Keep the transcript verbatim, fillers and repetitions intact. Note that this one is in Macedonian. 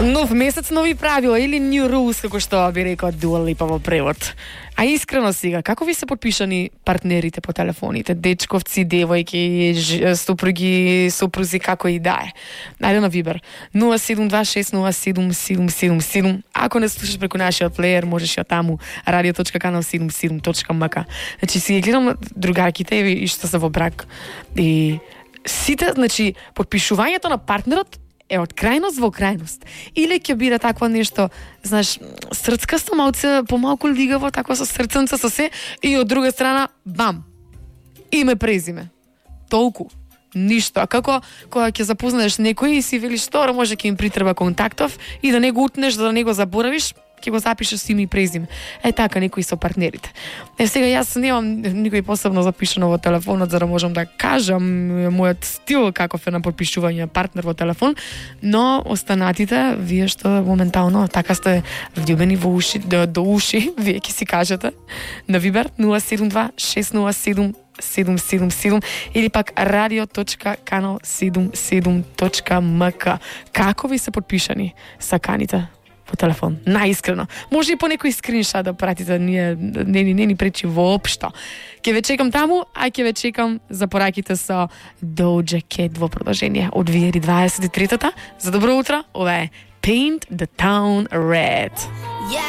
Нов месец, нови правила или new rules, како што би рекол Дуа Липа во превод. А искрено сега, како ви се подпишани партнерите по телефоните? Дечковци, девојки, ж- супруги, супрузи, како и да е. Најде на Вибер нула седум два шест нула седум седум седум седум. Ако не слушаш преку нашиот плеер, можеш ја таму радио точка канал седумдесет и седум точка ем ка. Значи си ги гледам другарките и што се во брак. И сите, значи, подпишувањето на партнерот е од крајност во крајност. Или ќе биде такво нешто, знаеш, срцкасто, малце, помалку лигаво, тако со срценца, со се, и од друга страна, бам, име, презиме. Толку. Ништо. А како кога ќе запознаеш некој и си велиш што, може ќе им притреба контактов и да не го утнеш, да не го заборавиш, ќе го запишеш име и презиме. Е така некои со партнерите. Е сега јас немам никој посебно запишано во телефонот за да можам да кажам мојот стил каков е на подпишување партнер во телефон, но останатите вие што моментално така сте влюбени во уши до, до уши, вие ќе си кажете на Вибер нула седум два шест нула седум седум седум седум или пак радио точка канал седумдесет и седум точка ем ка. Како ви се подпишани саканите по телефон? Најискрено. Може и по некој скриншот да пратите, ние не, не, не ни пречи воопшто. Ќе ве чекам таму, а ќе ве чекам за пораките со Doja Cat во продолжение од две илјади дваесет и трета. За добро утро, ова е Paint the Town Red. Yeah.